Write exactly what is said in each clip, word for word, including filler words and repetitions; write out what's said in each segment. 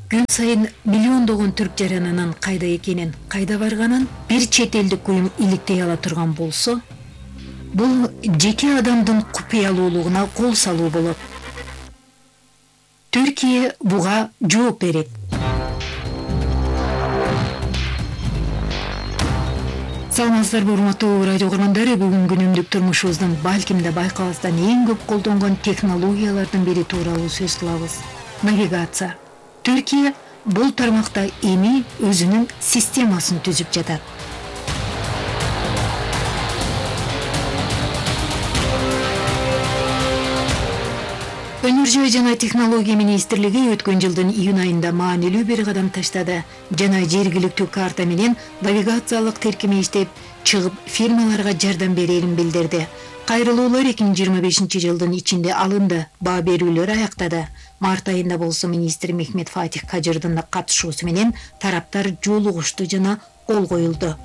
Күн сайын миллиондогон түрк жаранынын кайда экенин, кайда барганын бир чет элдик уюм иликтей ала турган болсо, бул жеке адамдын купуялуулугуна кол салуу болот. Түркия буга жооп берет. Саламатсыздарбы, урматтуу радио угармандары, бүгүн күнүмдүк турмушубуздун балким да байкабастан эң көп колдонгон технологиялардын бири тууралуу сөз кылабыз. Навигация. Түркия бул тармакта эми өзүнүн системасын түзүп жатат. Өнөр жана технология министрлиги өткөн жылдын июнь айында маанилүү бир кадам таштады жана жергиликтүү карта менен навигациялык тиркеме иштеп чыгып фирмаларга жардам берерин билдирди. Кайрылуулар эки миң жыйырма бешинчи жылдын ичинде алынды, баа берүүлөр аяктады. Март айында болсо министр Мехмет Фатих Кажырдын катышуусу менен тараптар жолугушту жана кол коюлду.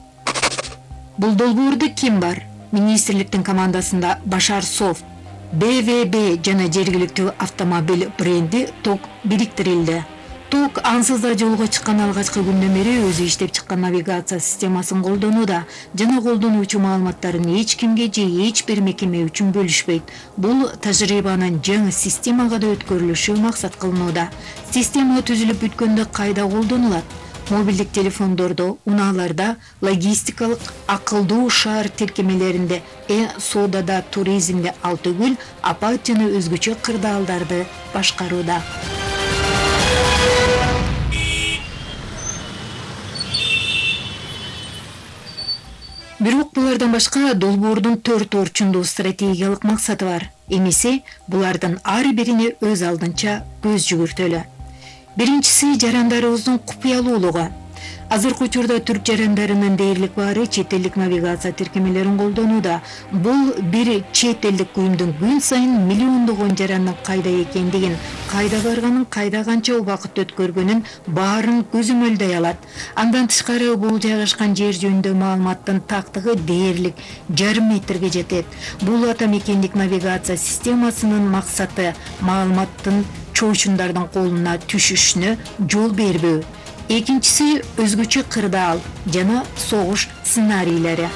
Бул долбоордо ким бар? Министрликтин командасында Башар Софт, бэ вэ бэ жана жергиликтүү автомобиль бренди ТОК бириктирилди. ТОК ансыз да жолго чыккан алгачкы күндөн бери өзү иштеп чыккан навигация системасын колдонууда жана колдонуучу маалыматтарын эч кимге же эч бир мекеме үчүн бөлүшпөйт. Бул тажрыйбанын жаңы системага да өткөрүлүшү максат кылынууда. Система түзүлүп бүткөндө кайда колдонулат? Мобилдик телефондордо, унааларда, логистикалык акылдуу шаар тиркемелеринде, э соодада, туризмде, ал түгүл апат жана өзгөчө кырдаалдарды башкарууда. Бирок булардан башка долбоордун төрт орчундуу стратегиялык максаты бар. Эмесе булардын ар бирине өз алдынча көз жүгүртөлү. Биринчиси жарандарыбыздын купуялуулугу. Азыркы учурда түрк жарандарынын дээрлик баары чет элдик навигация тиркемелерин колдонууда. Бул бир чет элдик уюмдун күн сайын миллиондогон жарандын кайда экендигин, кайда барганын, кайда канча убакыт өткөргөнүн баарын көзөмөлдөй алат. Андан тышкары бул жайгашкан жер жөнүндө маалыматтын тактыгы дээрлик жарым метрге жетет. Бул ата мекендик навигация системасынын максаты маалыматтын чоочундардын колуна түшүшүнө жол бербөө. Экинчиси өзгөчө кырдаал жана согуш сценарийлери.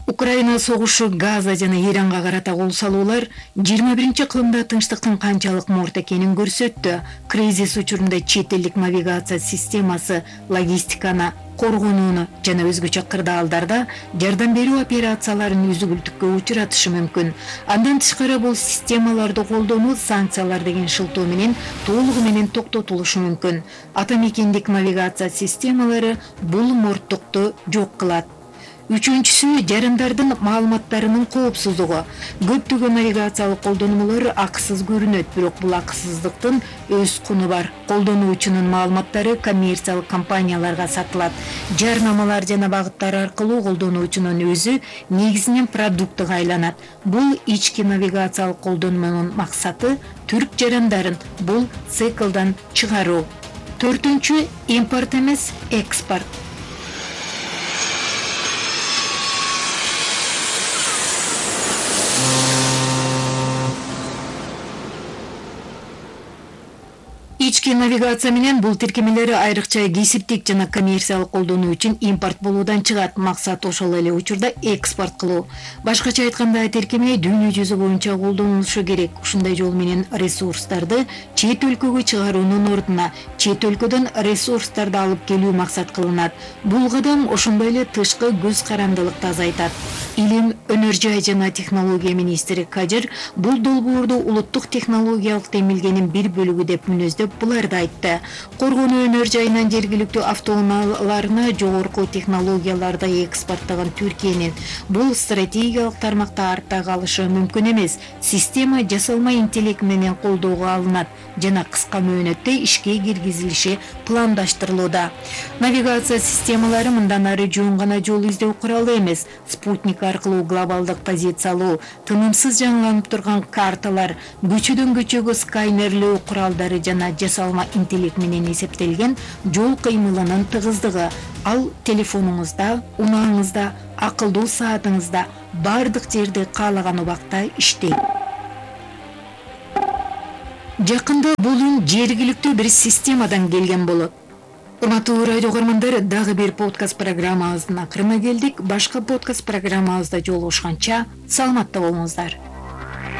Украина согушу Газа жана Иранга карата кол салуулар жыйырма биринчи кылымда тынчтыктын канчалык морт экенин көрсөттү. Кризис учурунда чет элдик навигация системасы логистиканы коргонууну жана өзгөчө кырдаалдарда жардам берүү операцияларын үзгүлтүккө учуратышы мүмкүн. Андан тышкары бул системаларды колдонуу санкциялар деген шылтоо менен толугу менен токтотулушу мүмкүн. Ата мекендик навигация системалары бул морттукту жок кылат. Үчүнчүсү жарандардын маалыматтарынын коопсуздугу. Көптөгөн навигациялык колдонмолор акысыз көрүнөт, бирок бул акысыздыктын өз куну бар. Колдонуучунун маалыматтары коммерциялык компанияларга сатылат. Жарнамалар жана багыттар аркылуу колдонуучунун өзү негизинен продуктуга айланат. Бул ички навигациялык колдонмонун максаты түрк жарандарын бул циклдан чыгаруу. Төртүнчү импорт эмес, экспорт. Ички навигация менен бул тиркемелер айрыкча кесиптик жана коммерциялык колдонуу үчүн импорт болуудан чыгат. Максат ошол эле учурда экспорт кылуу. Башкача айтканда, тиркеме дүйнө жүзү боюнча колдонулушу керек. Ушундай жол менен ресурстарды чет өлкөгө чыгаруунун ордуна чет өлкөдөн ресурстарды алып келүү максат кылынат. Бул кадам ошондой эле тышкы көз карандылыкты азайтат. Илим, өнөр жай жана технология министри Кажыр бул долбоорду улуттук технологиялык демилгенин бир бөлүгү деп мүнөздөп буларды айтты. Коргонуу өнөр жайынан жергиликтүү автоунааларына жогорку технологияларды экспорттаган Түркиянын бул стратегиялык тармакта артта калышы мүмкүн эмес. Система жасалма интеллект менен колдоого алынат жана кыска мөөнөттө ишке киргизилиши пландаштырылууда. Навигация системалары мындан ары жөн гана жол издөө куралы эмес, спутник аркылуу глобалдык позиция алуу, тынымсыз жаңыланып турган карталар, көчөдөн көчөгө сканерлөө куралдары жана жасалма интеллект менен эсептелген жол кыймылынын тыгыздыгы. Ал телефонуңузда, унааңызда, акылдуу саатыңызда бардык жерде каалаган убакта иштейт. Жакында бул үн жергиликтүү бир системадан келген болот. Урматтуу радио көрөрмандар, дагы бир подкаст программабыздын акырына келдик. Башка подкаст программабызда жолугушканча саламатта болуңуздар.